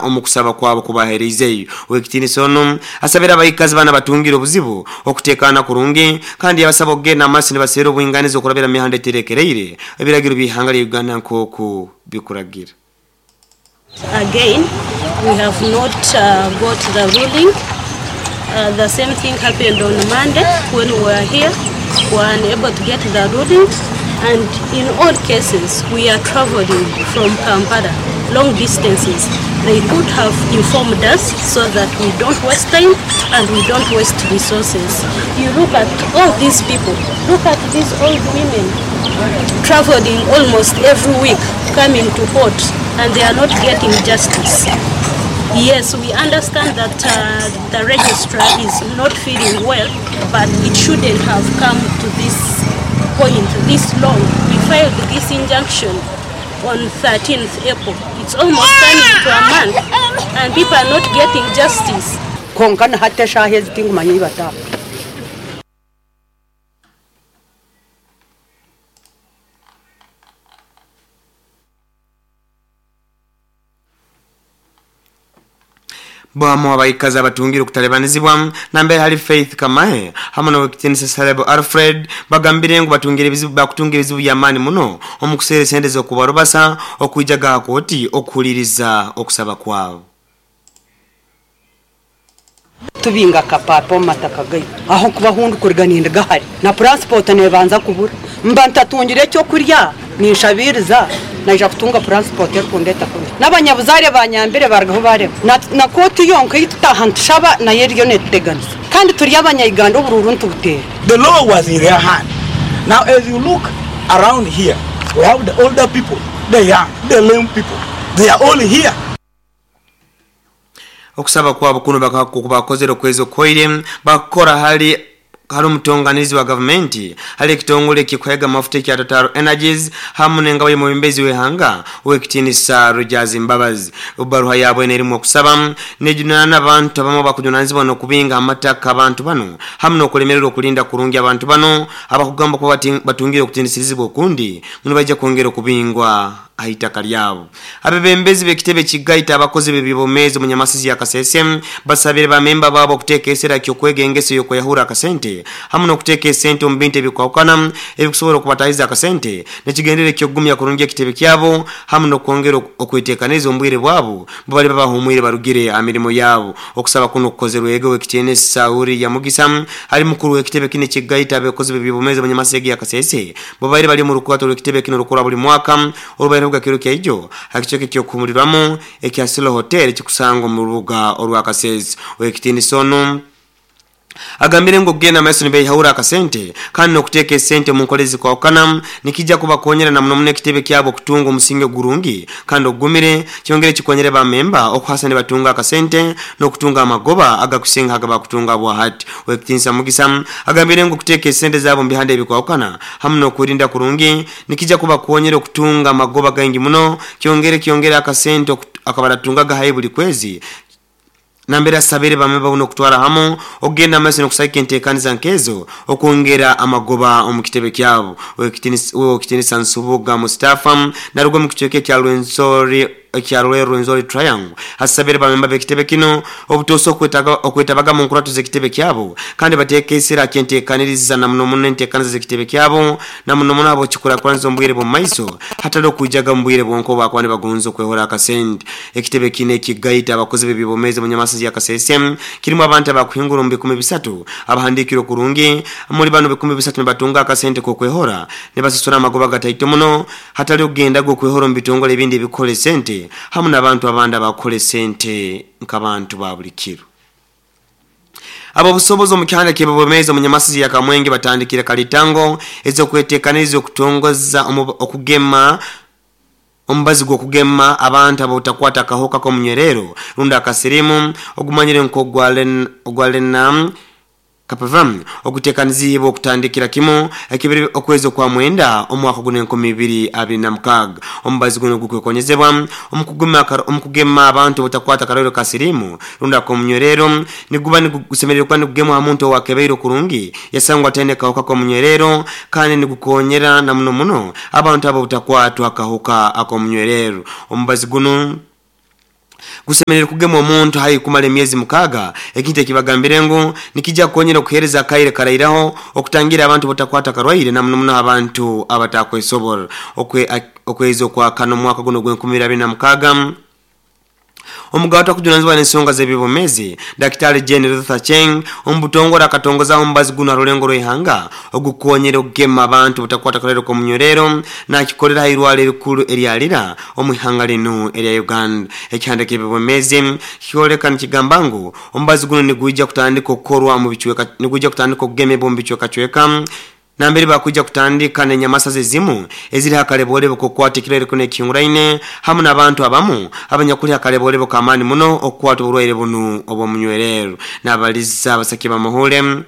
Omu kusaba kwabo kubahereizeyo, Ow'ekitiinisa onu asabire abaikazi banu abatungire obuzibu okutekaana kurungi kandi yabasaba okugenda amaiso nibaseera obwinganiza okurabira mu mihanda eterekereire ebiragiro by'ihanga lya Uganda nk'oku bikuragira. Again we have not got the ruling, the same thing happened on Monday when we were here, we were unable to get the ruling and in all cases we are traveling from Kampala long distances, they could have informed us so that we don't waste time and we don't waste resources. You look at all these people, look at these old women traveling almost every week coming to court and they are not getting justice. Yes, we understand that the registrar is not feeling well, but it shouldn't have come to this point this long. We filed this injunction on 13th April. It's almost coming to a month and people are not getting justice. Kwonka na hati eshaaha ezi tingumanya ei bataaha. Bamu abaikazi abatungire okutalebanizibwa nambere hali Faith Kamahe hamu n'owekitinisa Salebo Alfred bagambire ngu batungire ebizibu bakutunga ebizibu by'amaani muno omu kuseera esente z'okubarubasa okwijaga ha kooti okuhuliriza okusaba kwabo. Tubinga akapapa omu mataka gaitu aho nkuba ahu ndikuruga ninduga hare na puransipoota neebanza kubura. Mba ntatungire ekyokurya ninshabiiriza naija kutunga puransipoota erikundeeta kunu. N'abanyabuzaare baanyambire baarugaho baarema. Na kooti yonka ei tutaaha nitushaba nayo eriyo neetuteganisa. Kandi turi Abanya-Uganda oburuuru nitubuteera. The law was in their hand. Now as you look around here, we have the older people, the young, the lame people, they are all here. Okusaba kwabo kunu bakozere okwezi okuhoire bakukora hali hali omutonganirizi wa gavumenti hali ekitongole ekikuhaiga amafuta ekya Total Energies hamu n'engabo y'omwebembezi w'ihanga Owekitinisa Rogers Mbabazi. Ebaruha yabo enu erimu okusaba nejunaana abantu abamu abakujunanizibwa n'okubinga amataka abantu banu hamu n'okulemererwa okulinda kurungi abantu banu abakugamba kuba batungire okutinisirizibwa okundi ngu nibaija kwongera okubingwa aha itaka lyabo. Abebembezi b'ekitebe ekigaita abakozi b'eby'obwomeezi omu Nyamasizi ya Kasese basabire ba memba baabo okuteeka esera ky'okwega engeso y'okweyahura akasente hamu n'okuteeka esente omu bintu ebikwahukana ebikusobora okubatahiza akasente n'ekigendererwa eky'okugumya kurungi ekitebe kyabo hamu n'okwongera okwetekaniriza omu bwire bwabo bubaliba bahumwire barugire aha mirimo yaabo. Okusaba kunu kukozerwege Owekitiinisa Uria Mugisa ali mukuru w'ekitebe kinu ekigaita abakozi b'eby'obwomeezi omu Nyamasizi ya Kasese bubaire bali omu rukurato rw'ekitebe kinu orukora buli mwaka Orubaire kiro kya ijo ha kicweka eky'okuhumulirwamu ekya Silo Hotel ekikusangwa omu rubuga orwa Kasese. Ow'ekitiinisa onu agambire ngu okugenda maiso nibehaura akasente kandi n'okuteeka esente omu nkora ezikwahukana nikija kubakonyera na muno muno ekitebe kyabo okutunga omusingi ogurungi kandi ogugumire kyongere kikonyere ba memba okuhasa nibatunga akasente n'okutunga amagoba agakusinga hagabakutunga bwahati. Ow'ekitiinisa Mugisa agambire ngu okuteeka esente zaabo omu bihanda ebikwahukana hamu n'okwerinda kurungi Nikija kubakonyera okutunga amagoba gaingi muno, kyongere kyongere akasente akabaratungaga haihi buli kwezi. Nambere asabire bamwe babone okutwara hamu okugenda mumaiso nokusagika entekaniza nkezo okwongera amagoba omu kitebe kyabo. Owekitinisa Nsubuga Mustafa naruga omu kicweka ekya Rwenzori ekya Royal Rwenzori Triangle asabire bamemba b'ekitebe kinu obutoosa okwetabaga mu nkurato z'ekitebe kyabo kandi bateeke esira ha ky'enteekaniriza na muno muno enteekaniza z'ekitebe kyabo na muno muno habw'okikurakuraniza omu bwire bw'omu maiso hatali okwijaga omu bwire bwonka obu bakuba nibagonza okwehora akasente. Ekitebe kinu ekigaita abakozi b'eby'obwomeezi omu Nyamasazi ya Kasese kirimu abantu abakuhingura omu 30,000 abahandiikirwe kurungi. Omuli banu 30,000 nibatunga akasente k'okwehora nibasasura amagoba gataito muno Hatali okugendaga okwehora omu bitongole ebindi ebikukora esente hamu n'abantu abandi abakukora esente nk'abantu ba buli kiro. Ab'obusobozi omu kihanda ky'eby'obwomeezi omu Nyamasizi ya Kamwenge batandikire kalitango ez'okwetekaniriza okutongoza okugema omubazi gw'okugema abantu ab'obutakwata akahoka k'omunywerero rundi akasirimu ogumanyirwe nk'ogwa Lena Kapava oguteekaniziibwe okutandikira kimu ekibiri okwezi okwa mwenda omwaka guno 2026. Omubazi gunu gukwekonyezebwa omu kugema abantu obutakwata akarwaire ka siriimu rundi ak'omunywerero. Niguba gusemeriire kuba nigugemwa ha muntu ow'akebairwe kurungi yasangwa ataine kahuka k'omunywerero kandi nigukonyera na muno muno abantu abo obutakwatwa akahuka ak'omunywerero. Omubazi gunu. Gusemeriire kugemwa omuntu haihi kumara emyezi mukaaga, ekintu ekibagambire ngu nikija kukonyera okuhereza akaire karairaho okutangira abantu butakwata akarwaire na muno muno abantu abatakwesobora. Okwezi okwakana omwaka gunu ogw'enkumi ibiri abiri na mukaaga, Omugaati akujunanizibwa n'ensonga z'eby'obwomeezi, Dakitali Jane Ruth Aceng, omu butongole akatongozaho omubazi gunu ha rulengo rw'ihanga ogukukonyera okugema abantu butakwata karwaire k'omunywerero nakikolera ha irwaro erikuru erya Lira omu ihanga linu erya Uganda. Ekihanda ky'eby'obwomeezi kikyoleka nikigamba ngu omubazi gunu nigwija kutandika okukorwa omu bicweka nigwija kutandika okugemebwa omu bicwekacweka Nambere bakwija kutandika n'enyamasaza ezimu eziri ha kalebolebo k'okukwata ekirwaire kinu ekihinguraine hamu n'abantu abamu abanyakuli ha kalebolebo k'amaani muno okukwata oburwaire bunu obw'omunywererro. Nabaliza abasaki b'amahule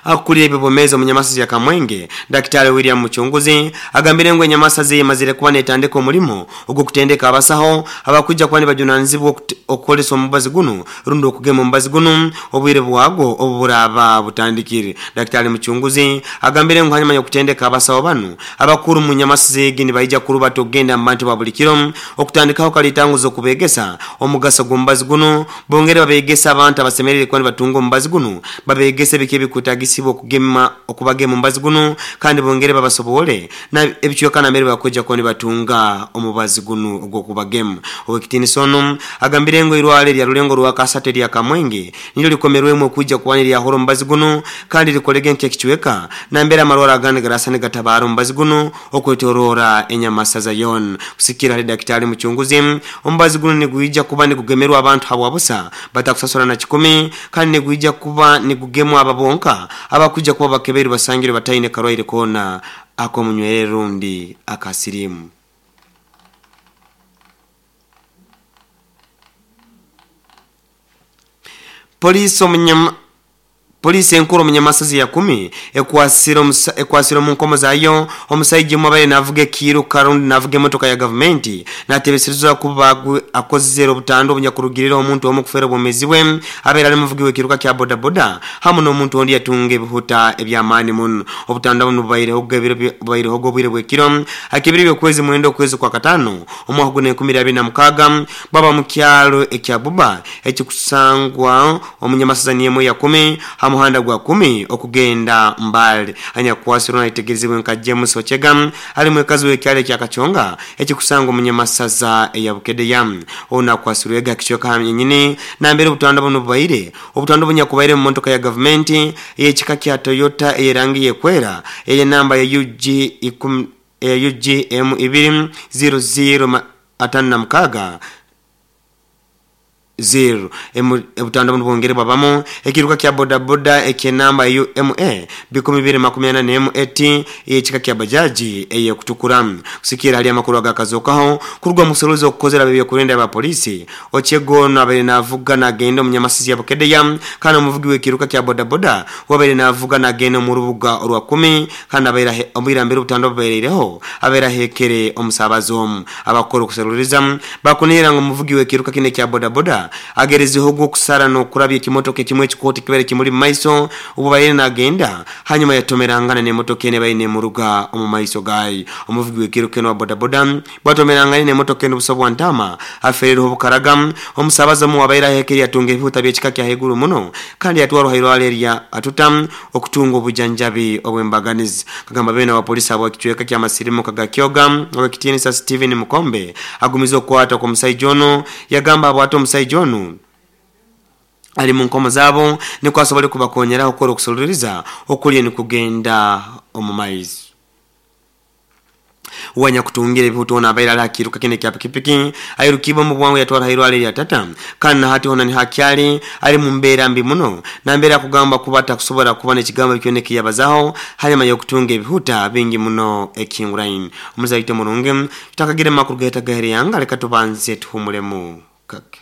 akukulira eby'obwomeezi omu nyamasaza ya Kamwenge, Dakitaali William Mucunguzi agambire ngu enyamasaza eye emazire kuba netandika omulimo ogw'okutendeka abasaho abakwija kuba nibajunanizibwa okukozesa omubazi gunu rundi okugema omubazi gunu obwire bwagwo obu buraaba butandikire. Dakitaali Mucunguzi agambire ngu hanyuma y'okutendeka abasaho banu, abakuru omu nyamasiza egi nibaija kurubata okugenda mu bantu ba buli kiro okutandikaho kalitanguza okubegesa omugaso gw'omubazi gunu, bongere babegese abantu abasemeriire kuba nibatunga omubazi gunu, babegese biki ebikwetagisibwa okugema okubagema omubazi gunu kandi bongere babasoboole Na ebicweka nambere bakwija kuba nibatunga omubazi gunu ogw'okubagema. Ow'ekitiinisa onu agambire ngu eirwaro erya Rulengo Rwakasatu erya Kamwenge niryo likomerwemu okwija kuba niryahura omubazi gunu kandi rikolege nk'ekicweka nambere amarwaro agandi garasa nigatabaara omubazi gunu okwetoroora enyamasaza yoona. Kusigikirra hali Dakitaali Mucunguzi, omubazi gunu nigwija kuba nigugemerwa abantu habwa busa batakusasura na kikumi kandi nigwija kuba nigugemwa abo bonka abakwija kuba bakebeirwe basangirwe bataine karwaire koona ak'omunywerere rundi aka siriimu. Poliisi omunyama Poliisi enkuru omu Nyamasazi ya Kumi ekwasire omusa ekwasire omu nkomo zayo omusaija omwe abaire navuga ekiiruka rundi navuga emotoka ya gavumenti natebeserezwa kuba akozere obutandwa obunyakurugireho omuntu omu kufeera obwomezi bwe abaire ali muvugi w'ekiiruka kya bodaboda hamu n'omuntu ondi yatunga ebihuta eby'amaani muno. Obutandwa bunu bubairehoga ebiro bubairehoga obwire bw'ekiro ak'ebiro by'okwezi mwenda okwezi okwakataano omwaka guno enkumi ibiri abiri na mukaaga bwaba mu kyalo ekya Buba ekikusangwa omu Nyamasaza niyo ya kumi ha muhanda gwa kumi okugenda Mbale. Anyakukwasirwe nayetegerezibwe nka James Ochega ali mwekazi w'ekyalo ekya Kachonga ekikusangwa omu Nyamasaza eya Bukedea. Onu akwasirwege ha kicweka hanyini nambere obutandwa bunu bubaire. Obutandwa obunyakubaire mu motoka ya gavumenti ey'ekika kya Toyota ey'erangi y'ekwera ey'enamba ya UG ikumi eya UGM ibiri ziro ziro atano na mukaaga ziro. Obutandwa bunu bwongere bwabamu ekiruka kya bodaboda eky'enamba ya UMA bikumi bibiri makumi ana n'emu AT ey'ekika kya bajaji ey'ekutukura. Kusikiira hali amakuru agakazokaho kuruga omu kusoroza okukozere ab'ebyokwerinda aba poliisi, Ochiego ono abaire navuga nagenda omu Nyamasizi ya Bukedea kandi omuvugi w'ekiruka kya bodaboda we abaire navuga nagenda omu rubuga orwa Kumi kandi abaire obwire mbere obutandwa bubaireireho abaire ahekere omusaabaze omu. Abakukora okuseruliriza bakunihira ngu omuvugi w'ekiruka kinu ekya bodaboda agerezeho ogw'okusara n'okurabya ekimotoka ekimu ekikooto ekibaire kimuli mu maiso obu abaire nagenda hanyuma yatomerangana n'emotoka enu ebaire nemuruga omu maiso gayo. Omuvugi w'ekiruka enu owa bodaboda Bwatomerangane n'emotoka enu buso bwa ntaama, afeereirwe obukaraga. Omusabazi omu owabaire ahekere yatunga ebihuta by'ekika kya haiguru muno kandi yatwarwa ha irwaro erya Atuta okutunga obujanjabi obw'embaganiza. Kagamba beene wa poliisi habw'ekicweka ky'amasirimuka ga Kyoga ow'ekitiinisa Stephen Mukombe agumize okukwatwa kw'omusaija onu yagamba habwati omusaija onu ali mu nkomo zaabo nikwo asobole kubakonyeraho kukora okusoloreza okuliyo nikugenda omu maiso. Uwe anyakutungira ebihuta ono abaire ali ha kiiruka kinu ekya pikipiki airukiibwe omu bwangu yatwarwa ha irwaro erya Tata kandi na hati hoona niho akyali ali mu mbeera mbi muno nambere akugamba kuba atakusobora kuba n'ekigambo kyona eki yabazaho hanyuma y'okutunga ebihuta bingi muno ekihinguraine. Omuzaito omurungi, tutakagire mu makuru gaitu agahereyanga leka tubanze tuhumulemu kake.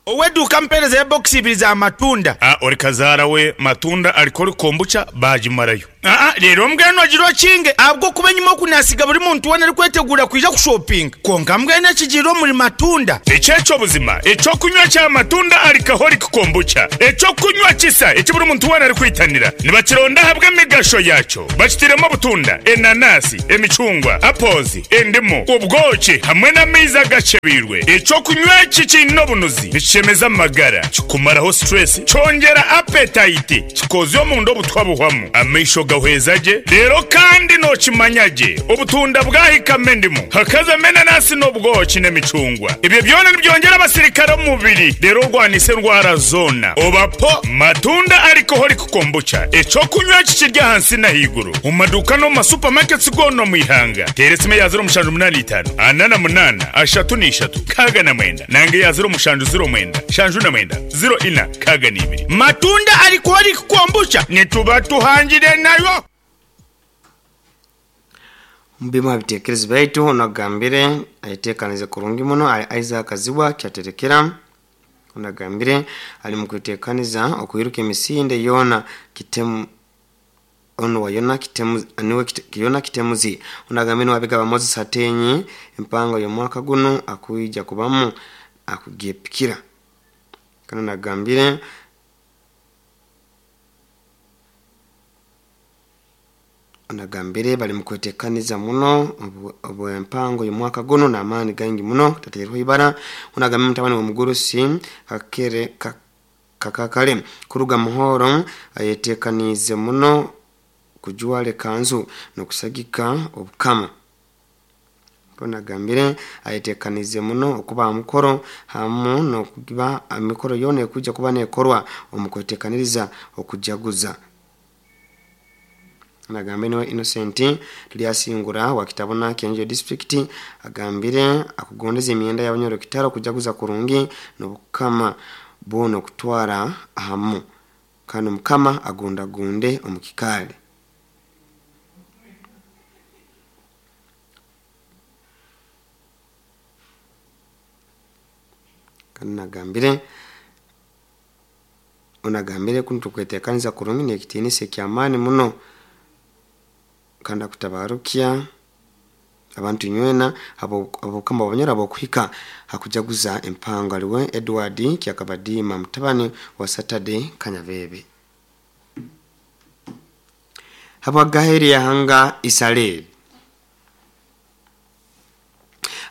Ow'eduuka ampeereza ya bokisi ibiri za matunda. A Ori kazaara we matunda arikora kombucha baagimarayo. Aa reero mbwenu ogire okinge ahabw'okuba enyima oku naasiga buri muntu weena arikweteguura kwija kushopinga. Kwonka mbwenu ekigiire omuri matunda. Eki eky'obuzima, eky'okunywa kya matunda alcoholic kombucha, eky'okunywa kisa eki buri muntu weena arikwitanira. Nibakironda ahabw'emigasho yaakyo. Bakitairemu obutunda, enanasi, emicungwa, apples, endimu, obwoki hamwe n'amaizi agakyebeirwe. Eky'okunywa eki kiine obunuzi, nikishemeza amagara, kikumaraho stress, kyongyera appetite, Kikoozya omunda obutwa buhwamu, amaisho gahweza gye, reero kandi nookimanya gye obutunda bwahikamu endimu, hakazamu enanasi n'obwoki n'emicungwa. Ebyo byona nibyongyera abasirikare omu mubiri reero orwanise endwara zoona. Oba po Matunda Alcoholic Kombucha, eky'okunywa eki kiri ahansi n'ahaiguru omu maduuka n'omu ma supermarkets goona omu ihanga. Teera esimu eya 0785 48 33 69 nanga eya 0709 79 04 62. Matunda Alcoholic Kombucha nituba tuhangire nayo. Omu bimu ha bitekerezo byaitu onu agambire ayetekanize kurungi muno ali Isaac Zibwa Kyaterekera. Onu agambire ali mukwetekaniza okwiruka emisinde yoona kitemu onu wa yona kitemu niwe yona kitemuzi. Onu agambire niwe abigaba Moses Atenyi empango y'omwaka gunu akwija kubamu akugyepikira. Kandi nagambire nagambire bali mukwetekaniza muno obwempango y'omwaka gunu n'amaani gaingi muno tateerweho ibara. Onu agambire mutabani w'omugurusi kakere kakakale kuruga muhoro ayetekaniize muno kujwara ekanzu n'okusagika obukama. Onu agambire ayetekaniize muno okuba aha mukoro hamu n'okuba emikoro yoona ekwija kuba neekorwa omu kwetekaniriza okujaguza. Nagambire niwe Innocent Turyasingura wa Kitabona Kyenjojo district agambire akugondeza emyenda y'abanyoro kitaro kujaguza kurungi n'obukama bwona okutwara ahamu kandi omukama agundagunde omu kikaali. Kandi nagambire onagambire kunu tukwetekaniza kurungi n'ekitiinisa eky'amaani muno kandi akutabarukya abantu inywena ab'obukama bw'abanyoro ab'okuhika hakujaguza empango aliwe Edward Kyakabadiima mutabani wa Saturday Kanyabebe. Habwagaheri yahanga Israel.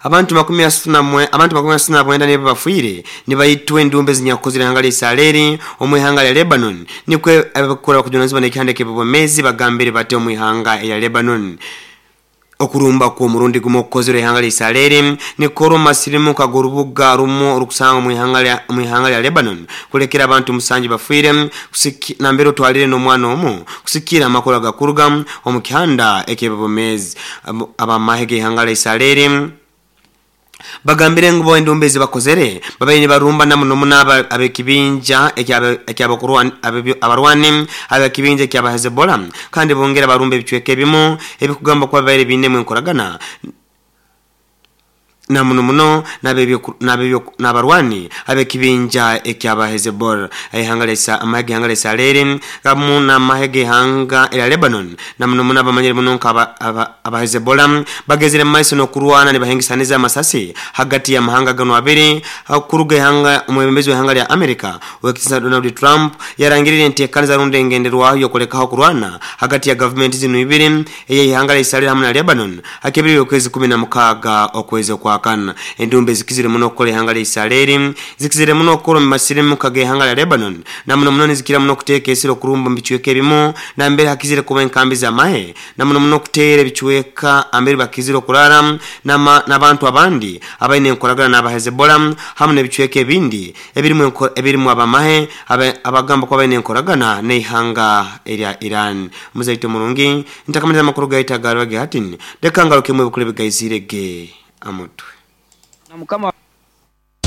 Abantu 39 nibo bafiire nibaitwa endumbe zinyakukozire ihanga lya Israeli omu ihanga lya Lebanon. Nikwo abakukora okujunanizibwa n'ekihanda eky'obwomeezi bagambire bati omu ihanga erya Lebanon. Okurumba kw'omurundi gumu okukozerwe ihanga lya Israeli nikukorwa omu masirimuka g'orubuga rumu orukusangwa omu ihanga lya Lebanon kulekera abantu 7 bafiire nambere otwalire n'omwana omu kusikira amakuru agakuruga omu kihanda eky'ebyomeezi. Abamahe g'ihanga lya Israeli bagambire ngu bo endumba ezi bakozere babaire nibarumba na muno muno ab'ekibinja abarwani ab'ekibinja ekyaba Hezbollah kandi bongera barumba ebicweka ebimu ebikugamba kuba babaire biinemu enkoragana na muno muno n'abarwani ab'ekibinja ekyaba Hezbollah. Amahe g'ihanga lya Israeli gamu n'amahe g'ihanga erya Lebanon na muno muno abamanyire muno nka aba Hezbollah bagezire mu maiso n'okurwana nibahengesaniza amasasi hagati y'amahanga ganu abiri. Kuruga ihanga omwebembezi w'ihanga lya America owekitiinisa Donald Trump yarangirire enteekaniza rundi engenderwaho y'okulekaho kurwana hagati ya gavumenti zinu ibiri ey'ihanga lya Israeli hamu na Lebanon hakebirire okwezi 16 okwezi okwa kana. Endumbe zikizire muno okukola ihanga lya Israeli zikizire muno okukola omu masirimuka g'ihanga lya Lebanon na muno muno nizikira muno okuteeka esiro okurumba omu bicweka ebimu nambere hakizire kuba enkambi z'amahe na muno muno okuteera ebicweka ambere bakizire okurara n'abantu abandi abaine enkoragana n'aba Hezbollah hamu n'ebicweka ebindi ebirimu abamahe abagamba kuba baine enkoragana n'ihanga erya Iran. Muzaito murungi ntakamaliza amakuru gaita garwage hatini leka ngarukemu ebikuru ebigaizire ge amutwe. Na mukama.